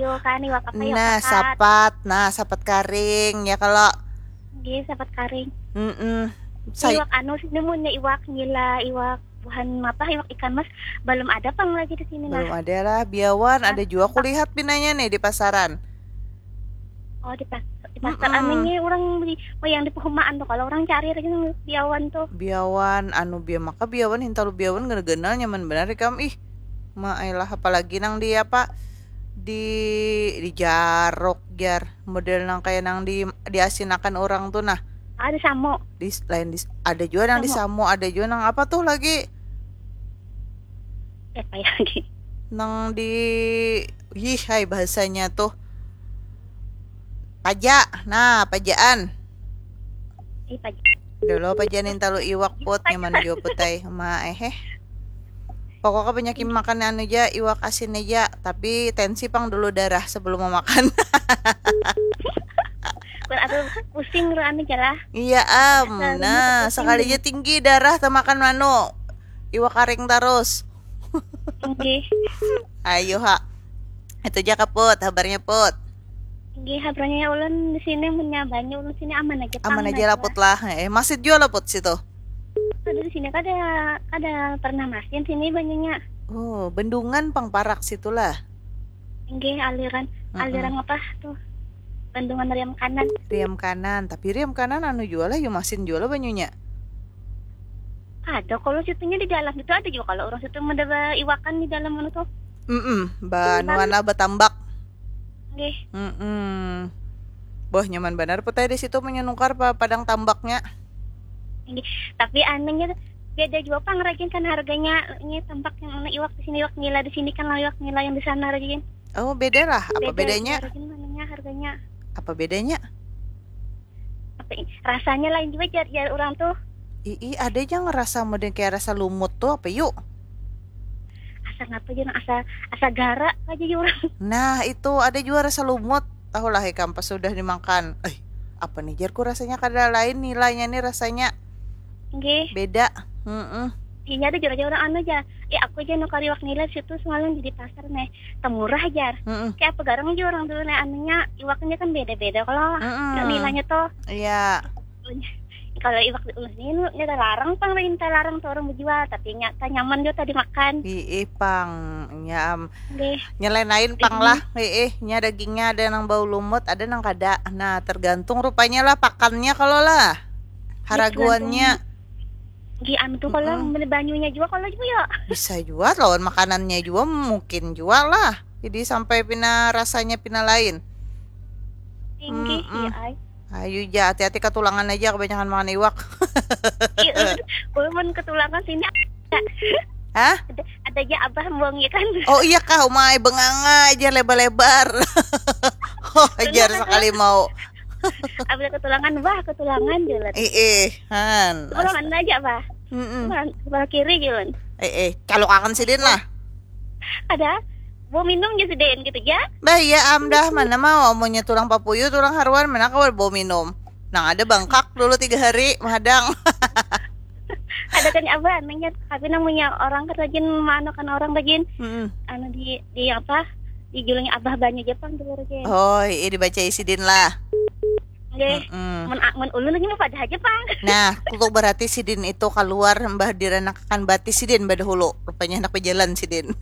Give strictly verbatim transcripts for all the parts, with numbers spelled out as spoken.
Tuh kan iwak apa, iwak Nah, pakat. Sapat. Nah, sapat karing ya kalau. Nggih, sapat karing. Mm-mm. Say- Iwak anu sih, munnya iwak nila, iwak buhan apa, iwak ikan mas belum ada pang lagi di sini. Belum Nah, ada lah, biawan ada juga aku lihat pinanya nih di pasaran. Oh, di pas di pasar Mm-mm. Anu nih orang beli, oh, yang di perumahan tuh, kalau orang cari lagi nang biawan tuh. Biawan, anu bia maka biawan, hintalu biawan, genal-genal nyaman benar ikam ih. Maailah, apalagi nang di apa, di di jarok jar, model nang kayak nang di diasinakan orang tuh nah. Ah, di samo. Di lain di ada juga nang di Samo. Samo, ada juga nang apa tuh lagi, Eh, apa ya lagi? Nang di, ih, hai, bahasanya tuh paja. Nah, pajaan. Eh, paja. Dulu pajaan, hintalu iwak put, nyaman juga put ai. Ma eh eh. Pokoknya banyak makan anu aja, iwak asin aja, tapi tensi pang dulu darah sebelum memakan. Kur aku pusing ru anu jalah. Iya am. Darahnya Nah, pusing. Sekalinya tinggi darah temakan manu. Iwak karing terus. Nggih. Ayo ha. Itu aja kaput, habarnya put. Nggih, habarnya ulun di sini punya banyu, ulun sini aman aja. Aman pang, aja lah put lah. Eh, masih jual lah put situ. Ada di sini kada kada pernah masin sini banyunya. Oh, bendungan pang parak situlah. Nggih, aliran Mm-mm. aliran apa tuh? Bendungan Riam Kanan. Riam Kanan, tapi Riam Kanan anu jual lah, yu masin jual lah banyunya. Ada kalau situnya di dalam itu ada juga kalau orang situ ada iwakan di dalam mana tuh. Mm-mm, banuan lah batambak. Nggih. Mm-mm. Boh, nyaman banar put ai di situ menyenukar pa padang tambaknya. Nggih. Tapi anunya beda juga pang rajin kan harganya. Ini tambak yang mana iwak di sini, iwak nila di sini kan, iwak nila yang di sana rajin. Oh, beda lah. Apa Beda bedanya? Rajin mananya harganya. Apa bedanya? Apa i- rasanya lain juga jar jar orang tuh. Ii, ada aja ngerasa model kayak rasa lumut tuh apa yuk? Asa ngapa jar, asa asa gara aja ya orang. Nah, itu ada juga rasa lumut. Tahulah ikam pas sudah dimakan. Eh, apa nih jarku rasanya kada lain nilainya nih rasanya. Nggih. Beda. Mm-mm. Iya ada jar orang anu aja. Eh, aku aja nukar iwak nila situ semalam di pasar nih. Temurah jar. Mm-mm. Kayak apa garang aja orang dulu nih anunya iwaknya kan beda-beda kalau Mm-mm. nilainya tuh. Iya. Kalau iwak di ulun ini nyata larang pang minta larang tuh orang menjual tapi nyata nyaman juga tadi makan. Ii pang, ya am. Nggih. Nyelain lain pang lah, ii, nya dagingnya ada nang bau lumut, ada nang kada. Nah, tergantung rupanya lah pakannya kalau lah. Haraguannya. Nggih anu tuh kalau beli banyunya juga kalau juga ya. Bisa juga lawan makanannya juga mungkin juga lah. Jadi sampai pina rasanya pina lain. Tinggi Mm-mm. Iya ai. Ayo ja, hati-hati ketulangan aja kebanyakan makan iwak. Iya, ulun ketulangan sini. Hah? Ada, ada aja abah buang ya kan. Oh iya kah, umai benganga aja lebar-lebar. Oh, ajar sekali mau. Abah ketulangan, bah ketulangan jalan. Eh, eh, han. Sebelah mana aja bah? Mm-mm. Sebelah, sebelah kiri jalan. Eh, eh, calokakan sidin lah. Ada. Mau minum aja sidin gitu ya. Bah, iya am dah, mana mau amunnya tulang papuyu, tulang haruan, mana kawa bau minum. Nang ada bangkak dulu tiga hari mahadang. Ada kan abah anaknya, tapi namanya orang kan rajin manukan orang rajin. Mm-mm. Anu di di apa? Di julungnya abah banyu Jepang dulu rajin. Oh, iya dibacai sidin lah. Nggih. Mm-mm. Mun mun ulun lagi mah pada aja pang. Nah, kutuk berarti sidin itu keluar mbah diranakakan batis sidin badahulu. Rupanya anak berjalan sidin.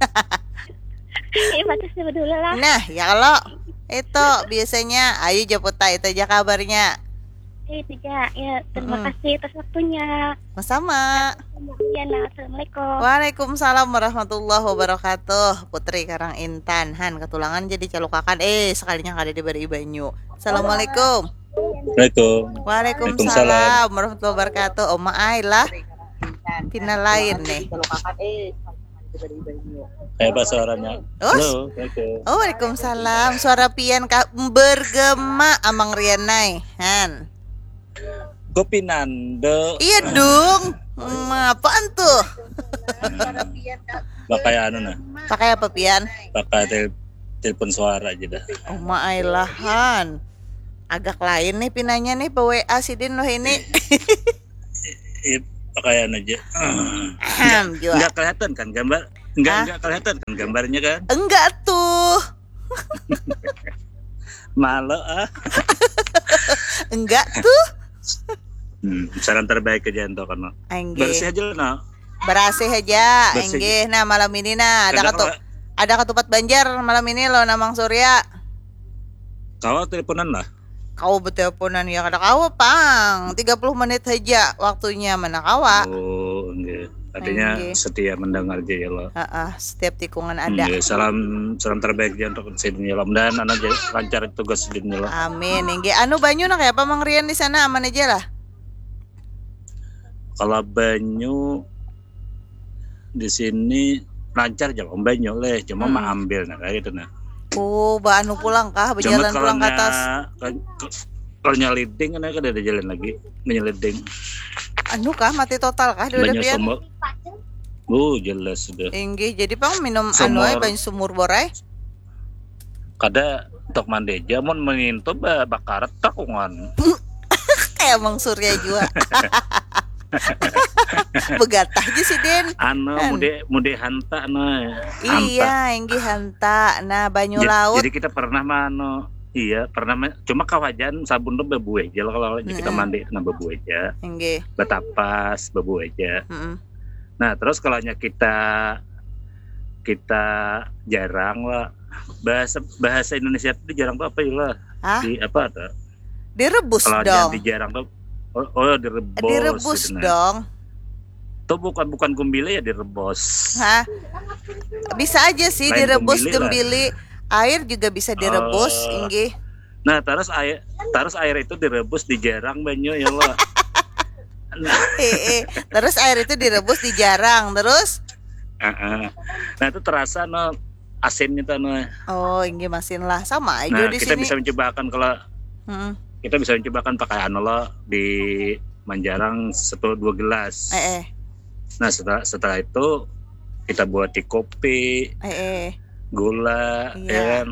Iya batis dulu lah. Nah, ya kalau itu biasanya ayo japuta itu aja kabarnya. Itu ya, ya terima Mm-mm. kasih atas waktunya. Sama-sama. Ya, nah, assalamualaikum. Waalaikumsalam warahmatullahi wabarakatuh. Putri Karang Intan, han ketulangan jadi calukakan. Eh, sekalinya kada diberi banyu. Assalamualaikum. Assalamualaikum. Waalaikumsalam warahmatullahi wabarakatuh. Oma ai lah. Pina lain nih. Kayak apa suaranya? Oh, Halo, Assalamualaikum. Oh, waalaikumsalam. Suara pian ka bergema Amang Rianai. Han. Gopinando. Iya dong. Hmm, apaan tuh? Pakai anu nah. Pakai apa pian? Pakai tel telepon suara aja dah. Oh, maai lah, han. Agak lain nih pinanya nih, pe W A sidin loh ini. Iya, pakaian aja. Ahem, jua. Nggak kelihatan kan gambar? Nggak Hah? Nggak kelihatan kan gambarnya kan? Enggak tuh. Malu ah. Enggak tuh. Hmm, salam terbaik aja untuk kono. Angge. Bersih aja lah, no. Berasih aja, Bersih. Angge. Nah, malam ini nah ada Kada katu kawa- ada katupat Banjar malam ini lo, Namang Surya. Kawa teleponan lah. Kau beteleponan ya, kada kawa pang. Tiga puluh menit aja waktunya, mana kawa. Oh, enggak. Artinya Enggak. Setia mendengar aja ya lo. Heeh, setiap tikungan ada. Enggak. Salam salam terbaik aja untuk sidin ya lo. Dan anak aja lancar tugas sidin ya lo. Amin. Angge, anu banyu nak apa Mang Rian di sana, aman aja lah. Kalau banyu di sini lancar aja banyu leh, cuma Hmm. maambil nah kayak gitu nah. Oh, ba anu pulang kah, Cuma berjalan kalau pulang ke atas. nya- ke- ke- kalau nyeliding kan kada ada jalan lagi menyeliding. Anu kah, mati total kah di Banyu pian? Sumur. Oh, jelas sudah. Inggih, jadi pang minum Sumur. Anu ai, banyu sumur borai. Kada untuk mandi aja, mun mengintu ba bakarat takungan. Kayak Mang Surya juga. Begatah aja sih, Din. Anu Kan. Mude mude hanta nah. Iya, inggih hanta. Nah, banyu Jadi, laut. Jadi kita pernah mano iya pernah ma- cuma kawajan sabun tuh bebuih aja lah kalau kita Mm-mm. Mandi kena bebuih aja, Inggih. Betapas bebuih aja. Mm-mm. Nah terus kalau kita kita jarang lah bahasa bahasa Indonesia itu jarang tuh apa ya lah? Hah? Di apa tuh? Direbus Kalau dong. Di jarang tuh oh, oh direbus. Direbus Gitu, nah. Dong. Tuh bukan bukan gumbili ya direbus. Hah? Bisa aja sih Lain direbus gumbili lah. Gumbili. Air juga bisa direbus, Oh. Inggih. Nah terus air terus air itu direbus di jarang banyu ya lo. Eh, eh. Terus air itu direbus di jarang, terus? Heeh. Nah itu terasa no asin gitu no. Oh, inggih masin lah, sama aja Nah di kita sini. Bisa mencobakan kalau Mm-mm. Kita bisa mencobakan pakai anu lo di manjarang satu dua gelas. Eh, eh. Nah setelah setelah itu kita buat di kopi, Eh, eh. Gula, Iya. Ya kan,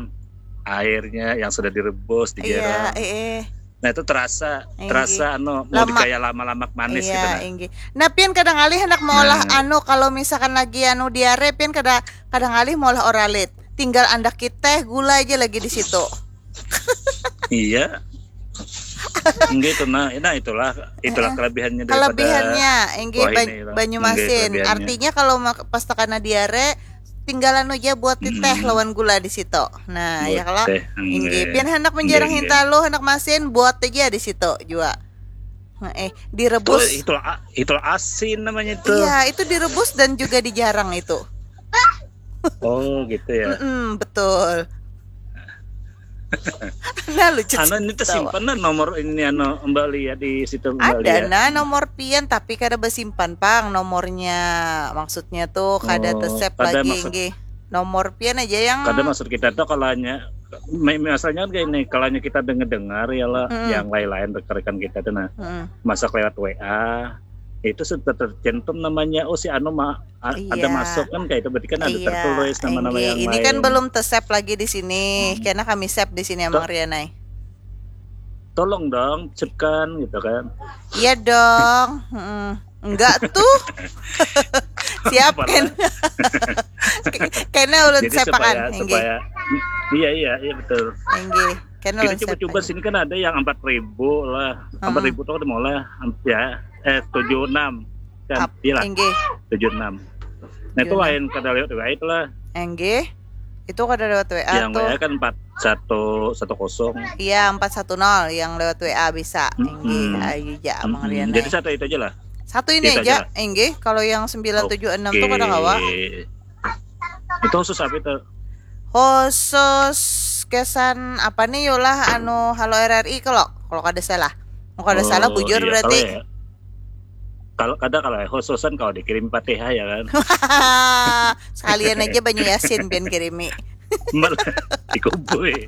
airnya yang sudah direbus di Iya, jarang. Eh, eh. Nah itu terasa Inggih. Terasa anu mau Lama. Kayak lama-lama manis Iya, gitu nah. Inggih. Nah, pian kada ngalih hendak maulah Nah. Anu, kalau misalkan lagi anu diare, pian kada kada ngalih maulah Oralit. Tinggal andak kita gula aja lagi di situ. Iya. Enggak itu nah, nah itulah itulah kelebihannya daripada Kelebihannya, inggih wah, ban- ini lah. Banyu Inggih, masin. kelebihannya. Artinya kalau mak- pas takana diare, tinggalan aja buat teh Mm-mm. Lawan gula di situ. Nah, Buat ya kalau teh, inggih, inggih. Pian hendak menjarang Inggih, hintalu, hendak masin, buat aja di situ juga. Nah, eh, Tuh, direbus. Itulah itulah asin namanya itu. Iya, itu direbus dan juga dijarang itu. Oh gitu ya. Mm-mm, betul. Nah, lucu. Anu ini Tawa. Tersimpan lah nomor ini anu Mbak Lia di situ Mbak Ada Lia. Nah nomor pian, tapi kada bersimpan pang nomornya. Maksudnya tuh kada Oh, tersep kada lagi maksud- inggih. Nomor pian aja yang Kada maksud kita tuh kalau hanya mi- misalnya gini, kalau hanya kita dengar-dengar ya lah Mm-mm. Yang lain-lain rekan-rekan kita tuh nah Mm-mm. Masak lewat W A itu sudah tercantum namanya oh si anu ma- a- ada Iya. Masuk kan kayak itu berarti kan ada Iya, tertulis nama-nama inggih. Yang Ini lain. Kan belum tersep lagi di sini. Hmm. Karena kami sep di sini To- Amang Rianai. Tolong dong cipkan gitu kan. Iya dong. Mm-mm. Enggak tuh. Siap Apalah. Kan. Kena ulun Jadi sepakan, supaya inggih. Supaya iya iya iya betul. Inggih. Kena Kita ulun coba-coba sepakan. Sini kan ada yang empat ribu lah. Hmm. Empat ribu tuh mau lah ya eh tujuh enam kan Ap- iya lah Inggih. Tujuh enam. Nah itu Tujuh enam. Lain kada lewat W A itu lah. Inggih. Itu kada lewat W A Yang tuh. W A kan empat satu satu kosong. Iya, empat satu nol yang lewat W A bisa. Mm-mm. Inggih, ayu ja Amang Mm-mm. Rianai. Jadi satu itu aja lah. Satu ini Itu aja, aja lah. Inggih. Kalau yang sembilan tujuh enam tuh kada kawa. Itu khusus apa itu? Khusus kesan apa nih, yolah, anu Halo R R I kalau kalau kada salah. Mau kada salah Oh, bujur iya, berarti. Kalau ya, kalau kada kalau ya, khususan kalau dikirim Fatihah ya kan. Sekalian aja banyu yasin pian kirimi. Malah dikubui.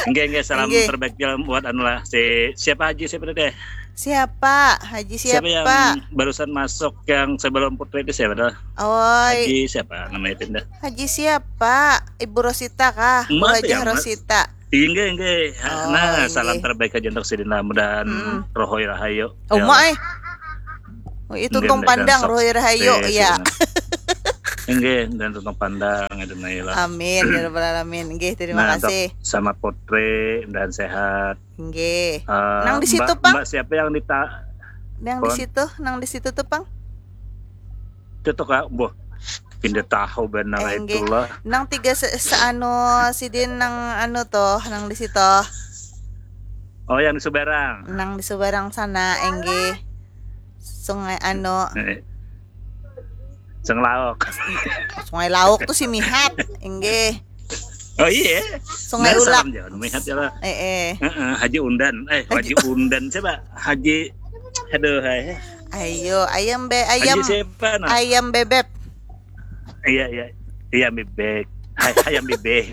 Enggak enggak salam Enggak. Terbaik jalan buat anu lah si siapa Haji siapa tadi? Siapa? Haji siapa? Siapa yang barusan masuk yang sebelum Putri itu siapa dah? Oi, Haji siapa namanya itu dah? Haji siapa? Ibu Rosita kah? Bu Emak Hajah ya, Mas. Rosita. Inggih inggih. Oh, Nah, inggih. Salam terbaik aja untuk sidin lah. Mudahan Mm-mm. Rohoi Rahayu. Oh, Ya mak Allah. Eh. Oh, itu Enggak, tong enggak, pandang jangan Rohoi Rahayu, sukses, iya. Ya. Inggih, dan tutup pandang itu Naila. Amin ya rabbal alamin. Inggih, terima Nah, kasih. Sama Putri dan sehat. Inggih. Eh, Nang di situ, Mbak, Pang? Mbak siapa yang dita Nang di situ, nang di situ tuh, Pang. Itu tuh Kak, boh. Pindah tahu benar Inggih. Itulah. Nang tiga se, se anu sidin nang anu tuh, nang di situ. Oh, yang di Subarang. Nang di Subarang sana, inggih. Sungai anu. Eh. Seng Lauk. Sungai Lauk tuh si Mihat, inggih. Oh iya. Sungai Nah, Ulak. Salam jangan Mihat ya lah. Eh eh. Heeh, Haji Undan. Eh, Haji Undan siapa? Haji Aduh, hai. Ayo, ayam be ayam. Haji siapa nah? Ayam bebek. Iya, iya. Iya, bebek. Hai, ayam bebek.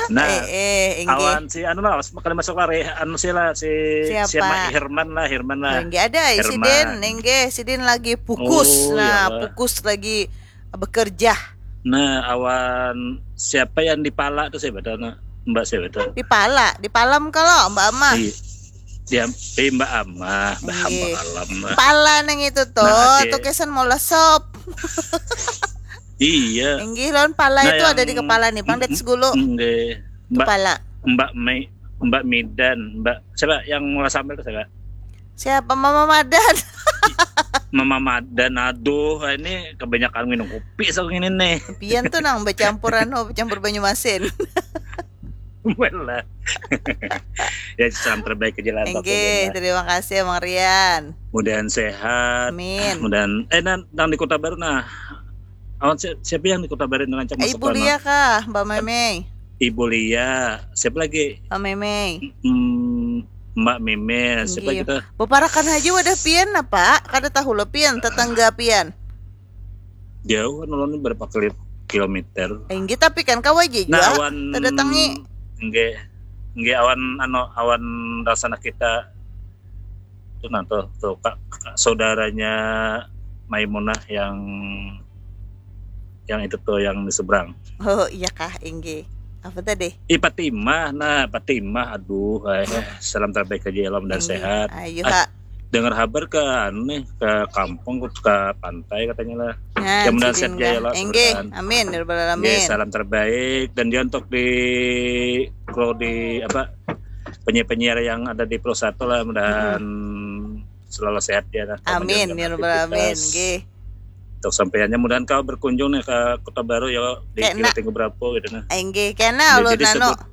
Nah, Eh eh, inggih. Awan si anu lah, sekali masuk lari anu sih lah si Siapa? Siapa? Herman lah, Herman lah. Inggih ada, sidin, Herman. Inggih, sidin lagi pukus. Oh, Nah, ya. Pukus lagi bekerja. Nah, awan siapa yang di pala tuh saya betul nah. Mbak saya betul. Di pala, di palam kalau Mbak Amah. Iya. Dia eh, Mbak Amah, Mbak Iya. Alam lah. Pala nang itu tuh, Nah, Acil. Tuh kesan mau lesop. Iya. Inggih, lawan pala Nah, itu yang- ada di kepala nih, Pang, dat segulu. Enggak. Mbak Kepala. Mbak Mei, Mbak Midan, Mbak siapa yang murah sambal tuh siapa? Siapa, Mama Madan? Mama Madan, aduh ini kebanyakan minum kopi so ini nih. Pian tuh nang bercampur anu, bercampur banyu masin. Malah. Ya salam terbaik aja lah untuk Inggih, Rian. Terima kasih Mang Rian. Mudahan sehat. Amin. Mudahan eh nan, nang di Kota Baru nah. Awan si- siapa yang di Kota Baru dengan cak Eh, Ibu Lia kah, Mbak Memei? Ibu Lia, siapa lagi? Mbak Memei. Hmm, Mbak Memel, siapa Inggih. Kita? Beparakan aja wadah pian apa? Kada tahu lo pian, tetangga pian. Jauh kan ulun berapa kilo- kilometer. Inggih, tapi kan kawa aja Nah, juga. Awan Tadatangi. Enggak. Enggak awan anu awan rasana kita itu nah tuh, tuh kak, kak saudaranya Maimunah yang yang itu tuh yang di seberang. Oh, iya kah, inggih. Apa tadi? Ih Fatimah, nah Fatimah, aduh, eh, salam terbaik aja ya, mudah Inggih. Sehat. Ayo, Ah, ha. Dengar kabar ke anu nih, ke kampung, ke pantai katanya lah. Nah, Ya, mudahan sidin sehat jaya dah. lah, Inggih, mudahan. Amin ya rabbal Oke, alamin. Salam terbaik dan juga untuk di kru di apa penyiar-penyiar yang ada di Pro Satu lah, mudahan selalu sehat ya lah. Amin ya rabbal alamin. Inggih. Untuk sampaiannya mudahan kau berkunjung nih ke Kota Baru ya di Kena. Kira Tinggi berapa gitu nah. Inggih, kena Ya, ulun jadi anu. sebut-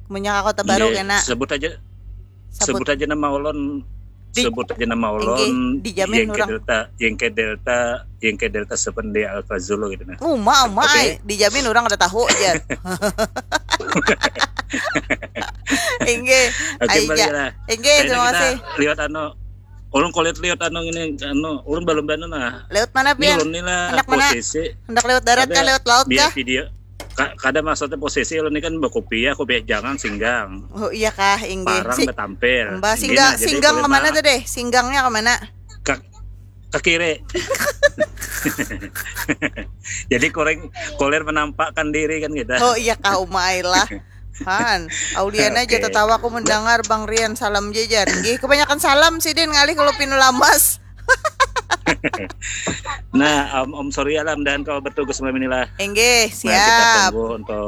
Munnya ka Kota Baru Iya, kena. Sebut aja Sabut. Sebut aja nama ulun. Di- Sebut aja nama Inggih, ulun. dijamin Yengke orang. Delta, Yengke Delta, Yengke Delta Seven di Alfa Zulu gitu nah. Uma, uma, Oke. Ai. Dijamin orang kada tahu aja. Inggih. Oke, Ai, balik ja. lah. Inggih, Kayaknya terima kita kasih. Lihat anu, ulun kulit lihat anu ini anu, ulun belum banu nah. Lewat mana, Ini Pian? ulun ni lah Hendak mana? Posisi Hendak lewat darat ada kah, lewat laut biar kah? Video. Ka- kada maksudnya posisi ulun ni kan berkopiah, kopiah jangan singgang. Oh, iya kah, inggih. Parang Si- betampil. Mbak, Inggih, singgang, nah, jadi singgang kulit kemana mah tuh deh? Singgangnya kemana? Ke, ke kiri. Jadi kulit kulit menampakkan diri kan gitu. Oh, iya kah, uma ai lah. Han, Auliana aja Oke. Tetawa aku mendengar Bang Rian salam jajar. Inggih, kebanyakan salam sidin ngalih kalau pinu lamas. Nah, Om, Om Surya lah, mudahan kau bertugas malam inilah. Inggih, Nah, kita siap. Tunggu untuk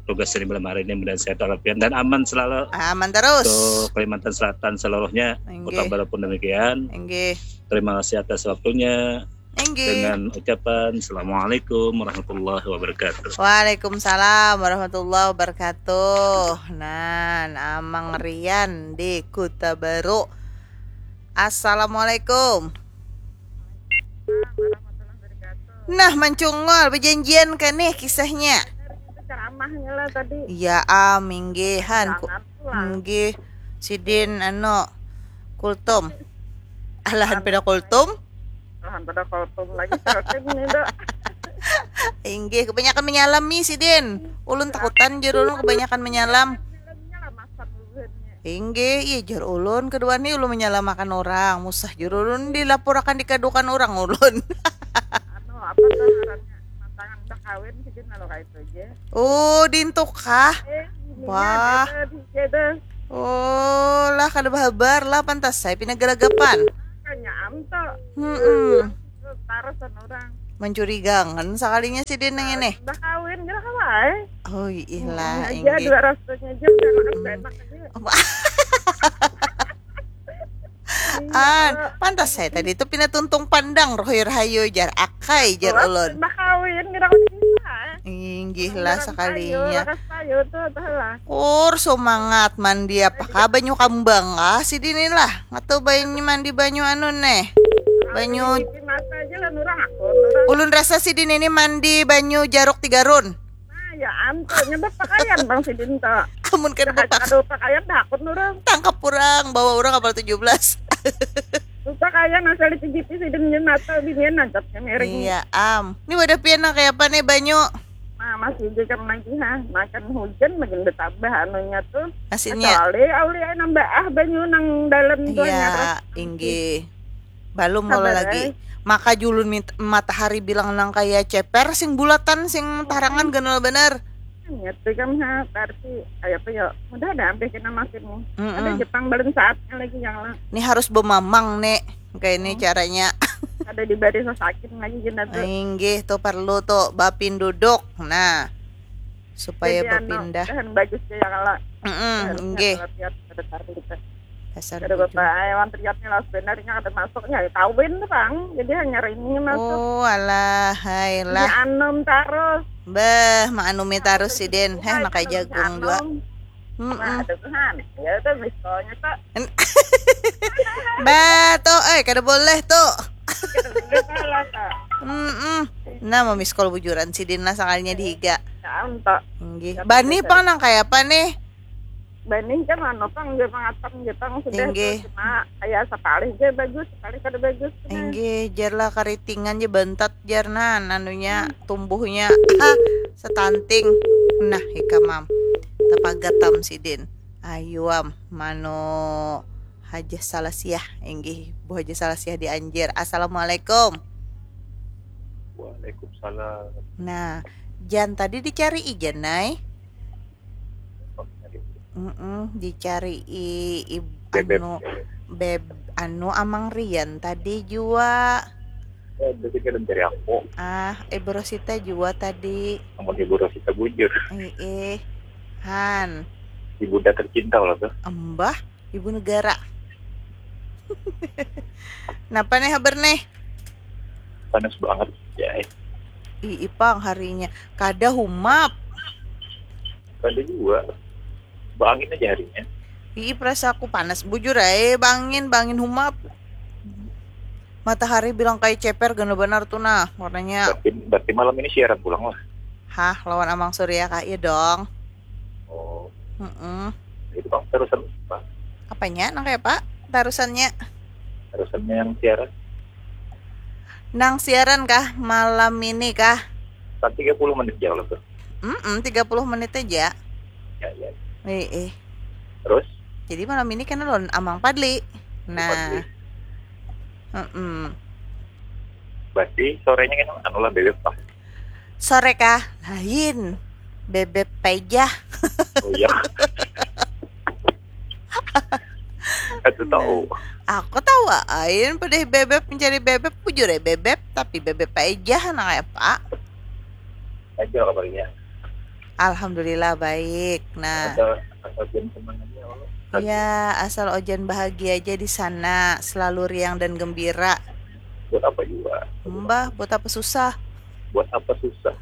tugas ini malam hari ini, mudahan sehat walafiat dan aman selalu Aman terus. Untuk Kalimantan Selatan seluruhnya. Inggih. Kota Baru pun demikian. Inggih. Terima kasih atas waktunya. Inggih. Dengan ucapan Assalamualaikum warahmatullahi wabarakatuh. Waalaikumsalam warahmatullahi wabarakatuh. Nah, Amang Rian di Kota Baru. Assalamualaikum. Nah, mancungul, berjanjian kan nih kisahnya? Ceramahnya lah tadi. Ya, am, inggih, han. Ku- Jangan pulang. Inggih, sidin anu kultum. Alahan pada kultum. Tuhan pada kultum lagi terus ini dok. Inggih, kebanyakan menyalami sidin. Ulun takutan jurulun kebanyakan menyalam. Filmnya lah masan dulunya. Inggih, iya jar ulun kedua ni ulun menyalamakan orang. Musah jurulun dilaporakan dikadukan orang ulun. Anu apa tuh ngarannya mantangan udah kawin sih lalu kayak itu aja. Oh, dintu kah? Eh, ininya Wah. Beda, di- beda. Oh, lah kada bahabar lah pantas saya pina galagapan. Kanya am tuh. Hmm. Taruh sama orang. Mencurigakan sakalinya sidin nang ini. Udah kawin, gila kawai. Oh ilah, Aja inggih. Dua rasanya aja udah makan enak aja. An, pantas saya tadi itu pina tuntung pandang rohir hayu jar akai jar ulun. Udah kawin, gila kawai. Inggih lah sakalinya. Rakas payu tuh, tuh lah. Kur sumangat mandi apa kah banyu kambang kah sidin ni lah. Atau banyu mandi banyu anu neh. Banyu Di mata aja lah nurang aku, nurang. Ulun rasa sidin ini mandi banyu jaruk tiga run. Nah, ya ampun, nyebab pakaian bang sidin tuh. Amun kada bepak Aduh, pakaian dah aku nurang. Tangkap orang bawa orang kapal tujuh belas. Pakaian asal di P G P sidin nyen mata binian nangkapnya miring. Iya am. Ini wadah pian nang kayak apa nih banyu? Nah, masih juga lagi ha, makan hujan makin bertambah anunya tuh. Maksudnya Kecuali auli nambah ah banyu nang dalam tuh iya nyarap. Inggih. Balum Sabar, kalau lagi. Eh. Maka julun mit- matahari bilang nang kaya ceper sing bulatan sing tarangan ganal bener. Niat pegang ha, berarti kayak apa ya? Mudah ada sampai kena makin nih. Mm-mm. Ada Jepang belum saatnya lagi yang lah. Ini harus bemamang nih. Kayak ini caranya. Ada di baris sakit lagi gina tuh. Inggih tuh perlu tuh bapin duduk. Nah, supaya Jadi, anu, berpindah. Bahan bagus ya kalau Mm-mm, inggih. Lihat ada tarik kita. Dasar Ada gitu. bapak hewan terlihatnya lah sebenarnya ada masuknya ya tahu ini bang. Jadi hanya ini masuk. Oh, alah, hai Ini lah. Anom terus. Bah, maanumi tarus sidin. Heh, makai jagung juga. Nah, Mm-mm. ada Tuhan. Ya itu miskolnya tuh. Bah, tuh, eh kada boleh tuh. Udah salah tuh. Mm-mm. Nah, memiskol bujuran sidin lah sakalinya dihiga. Ya untuk. Inggih. Bani pang nang kayak apa nih? Bani kan anu pang dia mangatam dia pang sudah Inggih. Tuh, cuma kayak sekali dia bagus sekali kada bagus. Nah, Inggih, jar lah karitingan je bantat jar nan anunya tumbuhnya ha setanting. Nah, ikam am. Tapagat am sidin. Ayu am mano Haja Salasiah inggih Bu Haja Salasiah di Anjir. Assalamualaikum. Waalaikumsalam. Nah, Jan tadi dicari Ijan nai. Mm-mm, dicari i, i Bebeb. Anu beb anu Amang Rian tadi jua. Ya, berarti kada mencari aku. Ah, Ibu Rosita jua tadi. Namun Ibu Rosita bujur. Eh, eh. Han, Ibunda tercinta lah tuh. Embah, Ibu Negara. Napa nih habar nih? Panas banget. Ya, eh. Ih, ipang harinya. Kada humap. Kada juga. Bangin aja harinya. Ih, perasa aku panas. Bujur ae, bangin, bangin humap. Matahari bilang kayak ceper gana banar tuh nah warnanya. Berarti, berarti malam ini siaran pulang lah. Hah, lawan Amang Surya kah? Iya dong. Oh, Mm-mm. Itu bang terusan apa? Apanya? Nang kayak apa? Tarusannya? Terusannya yang siaran. Nang siaran kah malam ini kah? Kan tiga puluh menit jauh lah tuh. Mm-mm, tiga puluh menit aja. Ya, ya. Eh, eh. Terus? Jadi malam ini kan lawan Amang Padli. Nah. Padli. Mm-mm. Berarti sorenya kan anu lah bebek lah. Sore kah? Lain. Bebeb pejah. Oh iya. Aku tahu. Aku tahu ain pedih bebeb mencari bebeb bujur ya bebeb tapi bebeb pejah nah kayak apa? Aja kabarnya. Alhamdulillah baik. Nah, Asal asal jam semangatnya Allah. ya asal Ojan bahagia aja di sana, selalu riang dan gembira. Buat apa juga? Mbah, buat apa susah? Buat apa susah?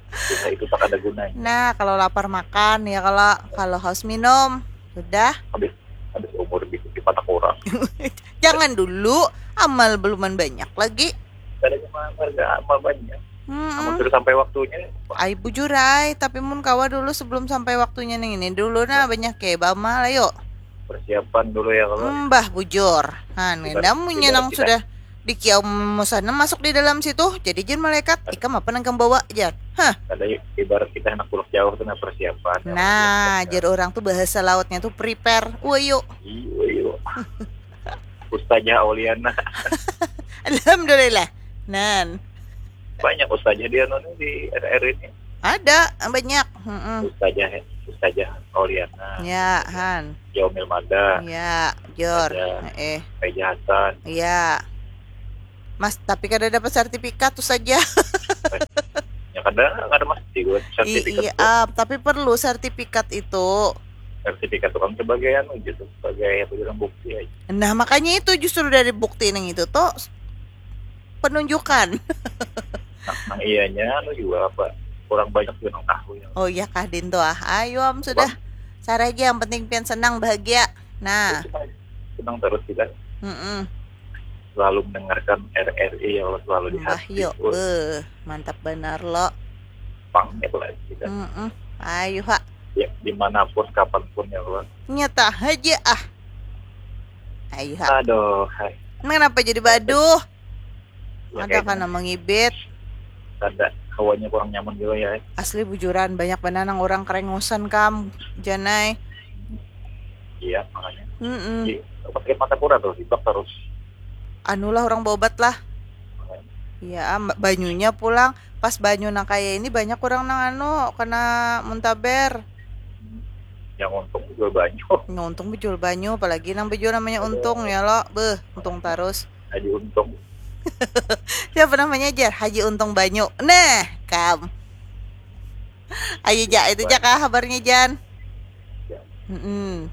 Susah itu tak ada gunanya. Nah, kalau lapar makan ya, kalau kalau haus minum. Sudah. Habis habis umur di di patak orang. Jangan dulu, amal beluman banyak lagi. Ada cuma harga amal banyak. Hmm. Namun sudah sampai waktunya. Ai bujur ai, tapi mun kawa dulu sebelum sampai waktunya nih ini dulu nah banyak ya bamal ayo. Persiapan dulu ya kalau. Mbah bujur. Han, Ibarat- namunnya ibarat nang kita- sudah di kiau musana masuk di dalam situ, jadi jen malaikat, ikam apa nang kam bawa jar. Hah. Ada ibarat kita anak pulau jauh tuh nah persiapan. Nah, jar orang tuh bahasa lautnya tuh prepare. Wayo. Iya, iya. Ustazah Auliana. Alhamdulillah. Nan. Banyak ustazah dia nonton di R R ini. Ada banyak. Heeh. Ustazah Ustazah Auliana. Ya, Han. Yaumil Mada. Ya, Jor. Ada. Eh, Reza Hasan. ya. Mas, tapi kada dapat sertifikat tu saja. Ya kada kada mesti buat sertifikat iya tuh. Ah, tapi perlu sertifikat itu. Sertifikat itu kan sebagai anu gitu, sebagai apa bilang, bukti aja. Nah, makanya itu justru dari bukti nang itu tuh penunjukan. Nah, nah iyanya anu juga apa, kurang banyak juga nang tahu ya. Oh iya kah, Din, tuh ah? Ayo am sudah. Cara aja, yang penting pian senang, bahagia. Nah, Senang terus kita mm selalu mendengarkan R R I ya Allah, selalu di Mbah hati. Yo, Oh, beh, mantap benar lo. Pang ya Allah, kita Mm-mm. Ayo ha, ya dimanapun kapanpun ya Allah. Nyata aja ah. Ayo ha. Aduh, hai. Ini kenapa jadi baduh? Ya, Ada kayaknya kana mengibit. Ada hawanya kurang nyaman juga ya. Asli bujuran, banyak banar nang orang kerengusan kam, Janai. Iya, makanya. Mm-mm. Di rumah sakit Mata Kura tuh, dibak terus. Anulah, orang berobat lah. Makanya. Iya, am- banyunya pulang. Pas banyu nang kaya ini banyak orang nang anu kena muntaber. Yang untung juga banyak. Nggak untung bejual banyu, apalagi nang bejual namanya Untung ya lo. Beh, untung terus. Haji Untung. Siapa namanya, Jar? Haji Untung Banyu. Nah, kam. Ayo, Ja, itu ja kah habarnya, Jan? Ya. Mm-mm.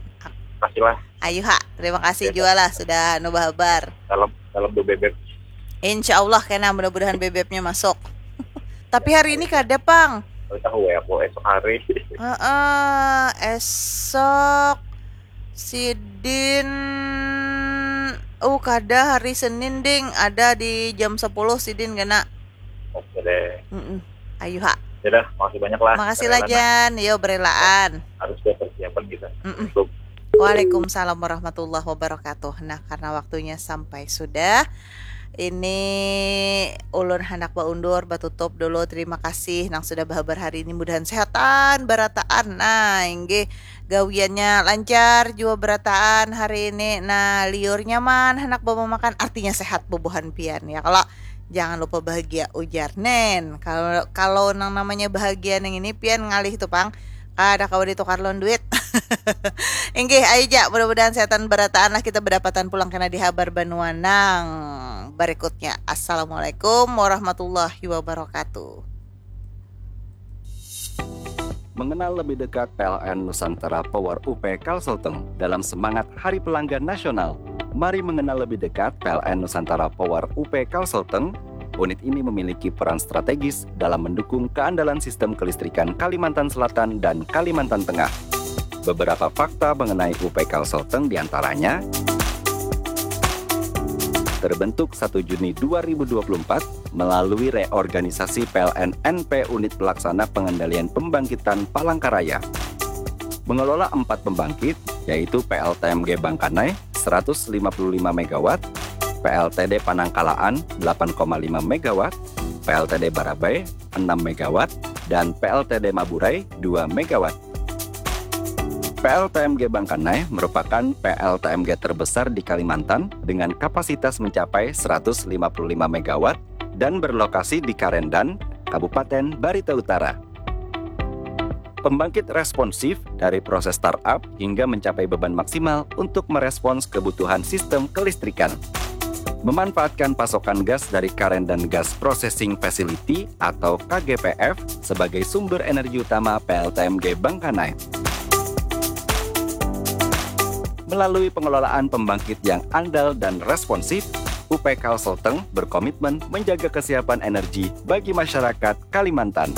Kasihlah Ayo ha, terima kasih Ya, juga lah sudah nu bahabar. Salam salam do bebek. Insya Allah kena, mudah-mudahan bebeknya masuk. Tapi hari ini kada pang. Tahu ya aku esok hari. Heeh, esok sidin, oh, kada, hari Senin ding, ada di jam sepuluh sidin kena. Oke deh. Mm-mm. Ayo ha. Dadah, makasih banyak lah. Makasih lah, Karena Jan. Yo, berelaan. Harus ada persiapan kita. Mm-mm. Untuk Waalaikumsalam warahmatullahi wabarakatuh. Nah, karena waktunya sampai sudah, ini ulun handak baundur, batutup dulu. Terima kasih nang sudah bahabar hari ini. Mudahan sehatan barataan. Nah, inggih, gawiannya lancar jua barataan hari ini. Nah, liur nyaman, handak bawa makan, artinya sehat bubuhan pian ya. Kalau jangan lupa bahagia, ujar Nen. Kalau kalau nang namanya bahagia nang ini pian ngalih tu pang. Kada kawa ditukar lawan duit. Inggih, ayo ja, mudah-mudahan sehatan barataan lah kita, badapatan pulang kena di habar banua nang barikutnya. Assalamualaikum warahmatullahi wabarakatuh. Mengenal lebih dekat P L N Nusantara Power U P Kalselteng dalam semangat Hari Pelanggan Nasional. Mari mengenal lebih dekat P L N Nusantara Power U P Kalselteng. Unit ini memiliki peran strategis dalam mendukung keandalan sistem kelistrikan Kalimantan Selatan dan Kalimantan Tengah. Beberapa fakta mengenai U P Kalselteng diantaranya: terbentuk satu Juni dua ribu dua puluh empat melalui reorganisasi P L N N P Unit Pelaksana Pengendalian Pembangkitan Palangkaraya. Mengelola empat pembangkit, yaitu P L T M G Bangkanai seratus lima puluh lima megawatt, P L T D Panangkalaan delapan koma lima megawatt, P L T D Barabai enam megawatt, dan P L T D Maburai dua megawatt. P L T M G Bangkanai merupakan P L T M G terbesar di Kalimantan dengan kapasitas mencapai seratus lima puluh lima megawatt dan berlokasi di Karendan, Kabupaten Barito Utara. Pembangkit responsif dari proses startup hingga mencapai beban maksimal untuk merespons kebutuhan sistem kelistrikan. Memanfaatkan pasokan gas dari Karendan Gas Processing Facility atau K G P F sebagai sumber energi utama P L T M G Bangkanai. Melalui pengelolaan pembangkit yang andal dan responsif, U P Kalselteng berkomitmen menjaga kesiapan energi bagi masyarakat Kalimantan.